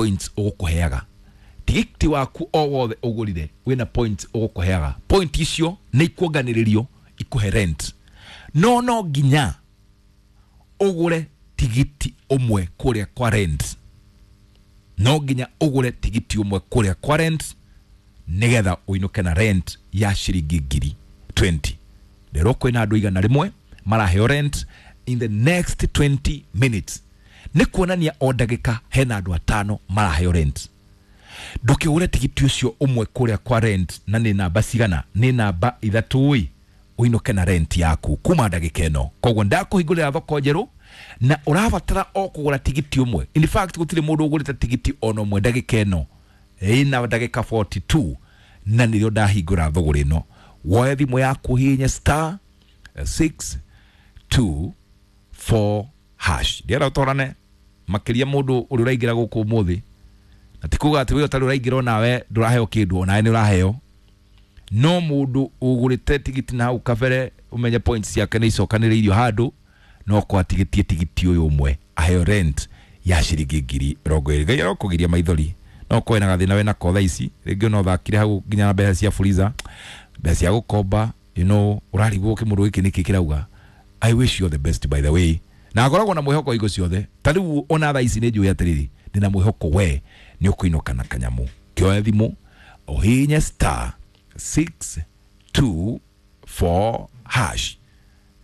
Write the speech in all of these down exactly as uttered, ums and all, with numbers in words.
points ũgũkũheaga. Tigiti waku o wothe ũgũrire wĩna points ũgũkũheaga. Point icio nĩ ikuonganĩrĩrio ikũhe rent. No no nginya ũgũre tigiti ũmwe kũrĩa kwa rent. No nginya ũgũre tigiti ũmwe kũrĩa kwa rent nĩgetha ũinũke na rent ya ciringi ngiri twenty. Rero kwĩna andũ igana rĩmwe maraheo rent in the next twenty minutes. Nĩ kuonania o ndagĩka hena andũ atano maraheo rent. Ndũkĩgũre tigiti ũcio ũmwe kũrĩa kwa rent na nĩ namba cigana? Nĩ namba ithatũ ĩ, ũinũke na rent yaku kuma ndagĩka ĩno. Koguo ndakũhingũrĩra thoko njerũ na ũrabatara o kũgũra tigiti ũmwe. In fact gũtirĩ mũndũ ũgũrĩte tigiti ona ũmwe ndagĩka ĩno ĩna ndagĩka forty two na nĩrĩo ndahingũra thũgũrĩ ĩno. Woe thimũ yaku hihinye star six two four hash. Ndienda ũtorane makĩria mũndũ ũrĩa ũraingĩra gũkũ ũmũthĩ, na ti kuga atĩ we ũtarĩ ũraingĩra onawe ndũraheo kĩndũ, onawe nĩ ũraheo. No mũndũ ũgũrĩte tigiti na hau kabere ũmenye points ciake nĩ icokanĩrĩirio handũ, no kwa tigiti tigiti ũyũ ũmwe aheo rent ya ciringi ngiri mĩrongo ĩrĩ. Ngai arokũgiria maithori. No ũkorwo wĩna gathĩna wĩnako thaa ici, rĩngĩ no ũthakire hau nginya na mbeca cia Fuliza, mbeca cia gũkomba, you know, ũrarigwo kĩmũndũ gĩkĩ nĩkĩ kĩrauga. I wish you all the best by the way. Na ngoragwo na mwĩhoko hingo ciothe. Ta rĩu ona thaa ici nĩ njũĩ atĩrĩrĩ, ndĩna mwĩhoko we nĩ ũkũinũka na kanyamũ. Kĩoe thimũ ũhihinye star six two four hash.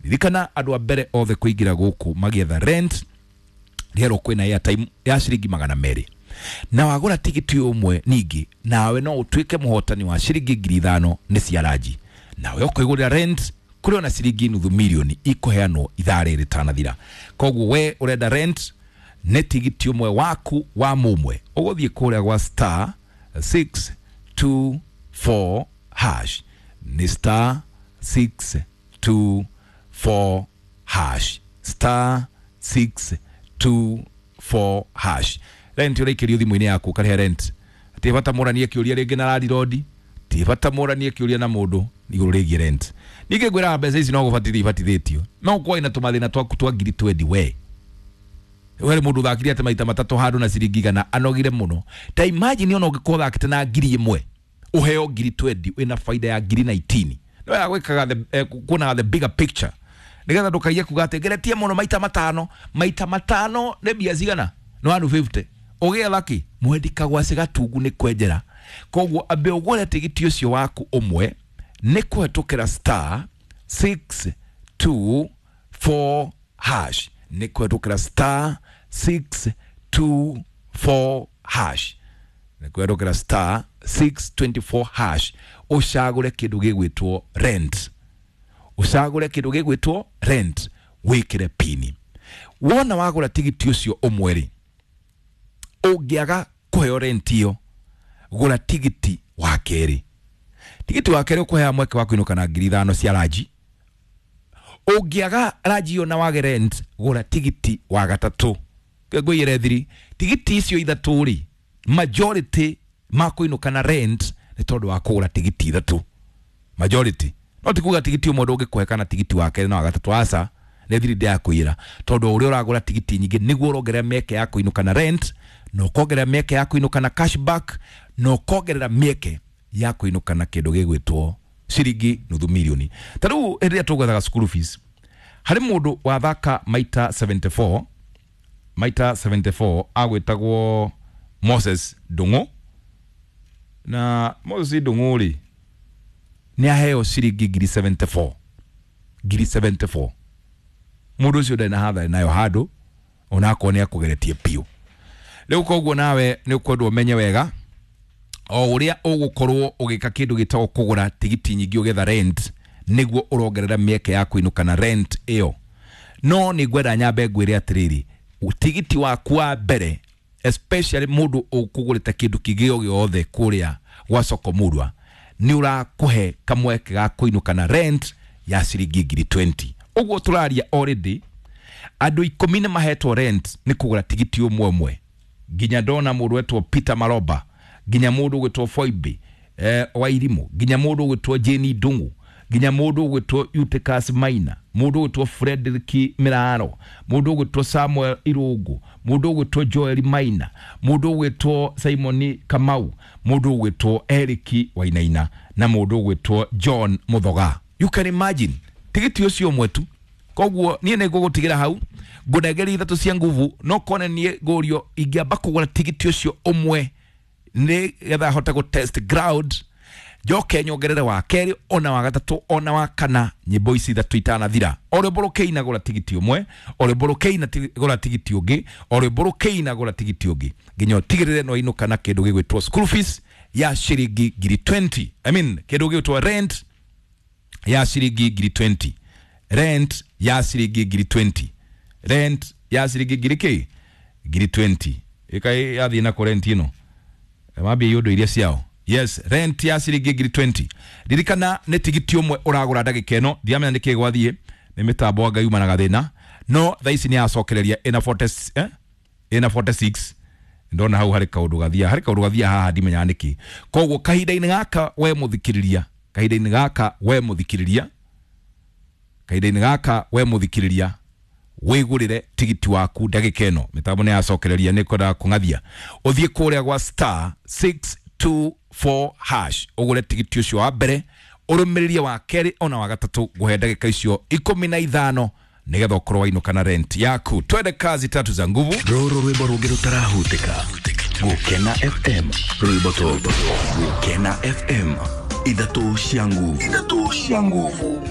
Ririkana andũ a mbere othe kũingĩra gũkũ magĩetha rent rĩerwo kwĩna airtime ya ciringi magana merĩ. Na wagũra tigiti ũmwe ningĩ nawe no ũtuĩke mũhotani wa ciringi ngiri ithano nĩ cia ranji. Nawe ũkũigũrĩra rent kũrĩ ona ciringi nuthu mirioni ikũheanwo ithaa rĩrĩ rĩtanathira. Koguo we ũrenda rent nĩ tigiti ũmwe waku wa mũmwe. Ũgũthiĩ kũrĩa gwa star six two four hash. Nĩ star six two four hash. Star six two four hash. Rent ũraikĩrio thimũ-inĩ yaku ũkarĩha rent. Ti bata mũranie kĩũria rĩngĩ na landlord, ti bata mũranie kĩũria na mũndũ igũrũ rĩgiĩ rent. Ningĩ ngwĩraga mbeca ici no gũbatithio ibatithĩtio. No ũkorwo wĩna tũmathĩna twaku twa ngiri twenty we. We mũndũ ũthakire atĩ maita matatũ handũ na ciringi igana anogire mũno. Ta imagine ona ũngĩkorwo ũthakĩte na ngiri ĩmwe ũheo ngiri twenty wĩna baida ya ngiri nineteen. No ya gwĩkaga the, eh, kuonaga the bigger picture. Nĩgetha ndũkaiye kuga atĩ ngeretie mũno maita matano, maita matano nĩ mbia cigana? Nĩ one fifty. Ũgĩetha kĩ? Mwendi kagwacĩ gatungu nĩ kwenjera. Koguo ambe ũgũre tigiti ũcio waku ũmwe nĩ kũhetũkĩra star six two four hash. Nĩ kũhetũkĩra star six two four hash. Nĩ kũhetũkĩra star six twenty four hash. Ũcagũre kĩndũ gĩgwĩtwo rent. Ũcagũre kĩndũ gĩgwĩtwo rent wĩkĩre pini. Wona wagũra tigiti ũcio ũmwe rĩ, ũngĩaga kũheo rent ĩyo, gũra tigiti wa kerĩ. Tigiti wa kerĩ ũkũhea mweke wa kũinũka na ngiri ithano cia ranji. Ũngĩaga ranji ĩyo na wage rent, gũra tigiti wa gatatũ. Ngwĩre thiri, tigiti icio ithatũ rĩ, majority makũinũka na rent nĩ tondũ wa kũgũra tigiti ithatũ. Majority. No ti kuga tigiti ũmwe ndũngĩkũhe kana tigiti wa kerĩ na wa gatatũ, aca, nĩ thiri ndĩrakwĩra. Tondũ ũrĩa ũragũra tigiti nyingĩ nĩguo ũrongerera mĩeke ya kũinũka na rent, na ũkongerera mĩeke ya kũinũka na cashback, na ũkongerera mĩeke ya kũinũka na kĩndũ gĩgwĩtwo ciringi nuthu mirioni. Ta rĩu hĩndĩ ĩrĩa tũgwethaga school fees, harĩ mũndũ wathaka maita seventy four, maita seventy four agwĩtagwo Moses Ndung'u. Na Moses Ndung'u rĩ, nĩ aheo ciringi ngiri seventy four. Ngiri seventy four. Mũndũ ũcio ndarĩ na hathara nayo handũ, onakorwo nĩ akũgeretie biũ. Rĩu koguo nawe nĩ ũkwendwo ũmenye wega o ũrĩa ũgũkorwo ũgĩka kĩndũ gĩtagwo kũgũra tigiti nyingĩ ũgetha rent, nĩguo ũrongerera mĩeke ya kũinũka na rent ĩyo. No nĩ ngwenda nyambe ngwĩre atĩrĩrĩ, tigiti waku wa mbere, especially mũndũ ũkũgũrĩte kĩndũ kĩngĩ o gĩothe kũrĩa gwa soko murwa, nĩ ũrakũhe kamweke ga kũinũka na rent ya ciringi ngiri twenty. Ũguo tũraria already andũ ikũmi nĩ mahetwo rent nĩ kũgũra tigiti ũmwe ũmwe. Nginya ndona mũndũ wetwo Peter Maroba, nginya mũndũ ũgwĩtwo Foibe, eh, wa Irimũ, nginya mũndũ ũgwĩtwo Jane Ndung'u, Nginya mũndũ ũgwĩtwo Eutychus Maina, mũndũ ũgwĩtwo Frederick Miraro, mũndũ ũgwĩtwo Samuel Irũngũ, mũndũ ũgwĩtwo Joel Maina, mũndũ ũgwĩtwo Simon Kamau, mũndũ ũgwĩtwo Eric Wainaina na mũndũ ũgwĩtwo John Muthoga. You can imagine tigiti ũcio ũmwe tu. Koguo niĩ nĩ ngũgũtigĩra hau, ngũnengeria ithatũ cia nguvu, no kone niĩ ngũrio ingĩamba kũgũra tigiti ũcio ũmwe nĩ getha hote gũ test ground, njoke nyongerere wa kerĩ ona wa gatatũ ona wa kana, nyĩmbo ici ithatũ itanathira. O rwĩmbo rũkĩina gũra tigiti ũmwe, o rwĩmbo rũkĩina gũra tigiti ũngĩ, o rwĩmbo rũkĩina gũra tigiti ũngĩ, nginya ũtigĩrĩre no inũka na kĩndũ gĩgwĩtwo school fees ya ciringi ngiri mĩrongo ĩĩrĩ, I mean kĩndũ gĩgwĩtwo rent ya ciringi ngiri mĩrongo ĩĩrĩ, rent ya ciringi ngiri mĩrongo ĩĩrĩ, rent ya ciringi ngiri kĩ ngiri mĩrongo ĩĩrĩ. Ĩka yathiĩ na kũ rent ĩno mambia iũndũ iria ciao. Yes, rent ya ciringi ngiri mĩrongo ĩĩrĩ. Ririkana nĩ tigiti ũmwe ũragũra ndagĩka ĩno, ndiramenya nĩkĩ gwathiĩ, nĩ mĩtambo anga yuma na gathĩna, no thaa ici nĩ yacokereria ĩna mĩrongo ĩna, eh? Ĩna mĩrongo ĩna na ithathatũ. Ndona hau harĩ kaũndũ gathia, harĩ kaũndũ gathia haha ndimenyaga nĩkĩ. Koguo kahinda-inĩ gaka we mũthikĩrĩria, kahinda-inĩ gaka we mũthikĩrĩria, kahinda-inĩ gaka we mũthikĩrĩria, wĩgũrĩre tigiti waku ndagĩka ĩno. Mĩtambo nĩ yacokereria, nĩ kwendaga kũng'athia. Ũthiĩ kũrĩa gwa star six two four hash ũgũre tigiti ũcio wa mbere, ũrũmĩrĩrie wa kerĩ ona wa gatatũ. Ngũhe ndagĩka icio ikũmi na ithano nĩgetha ũkorwo wainũka na rent yaku. Twende kazi tatu za nguvu. Rũrũ rwĩmbo rũngĩ rũtarahutĩka. Gũkena F M, rwĩmbo tondũ Gũkena F M, ithatũ cia nguvu, ithatũ cia nguvu.